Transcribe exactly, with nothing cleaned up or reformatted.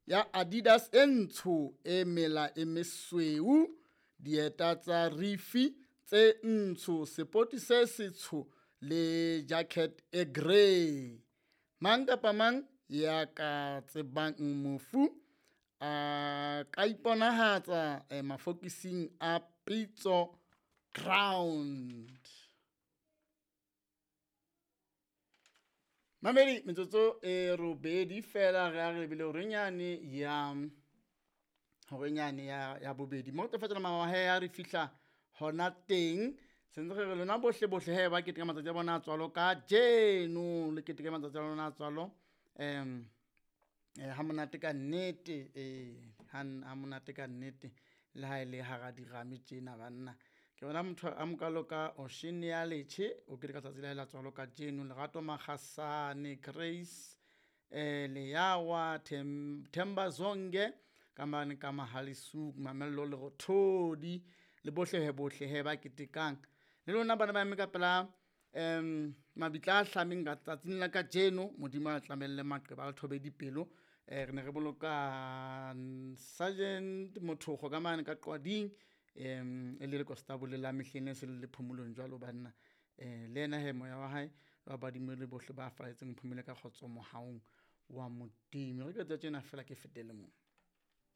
ya Adidas e ntsho e mela e mesweu, dieta tsa rifi tse ntsho, sepoti se setsho le jacket e grey. Mang kapa mang ya ka tsebang mofu a ka iponahatsa eh, mafokising a Pitso Ground. Mamedi metsotso e robedi fela re a re lebile horenyane ya horenyane ya ya bobedi mo re tlo fetola mamahe ya re fihla hona teng. Sentse re re lona bohle bohle he ba keteka matsatsi a bona a tswalo ka jeno, le keteke matsatsi a lona a tswalo um eh, ha monate ka nnete, eh ha ha monate ka nnete le ha e le hara dirame tjena banna. Ke bona motho a mokalo ka Ocean ya Letjhe o keteka tsatsi la hae la tswalo ka jeno, Lerato Makgasane, Grace eh Leyawa, Them Themba Zonge ka mane ka Mahalisuk, Mamello Lerothodi le bohle he bohle he ba ketekang. Le lona bana ba eme ka pela um mabitla a hlameng ka tsatsing la kajeno, Modimo a tlamelle maqeba a le thobe dipelo. Eh re ne re boloka Sergeant Mothogo ka mane ka Qwading, um e le lekonstabole la mehleng e se le le phomolong jwalo banna. Eh le yena he moya wa hae wa badimo le bohle ba falletseng phomole ka kgotso mohaung wa Modimo. Re ke tsa tjena fela ke fetele moo.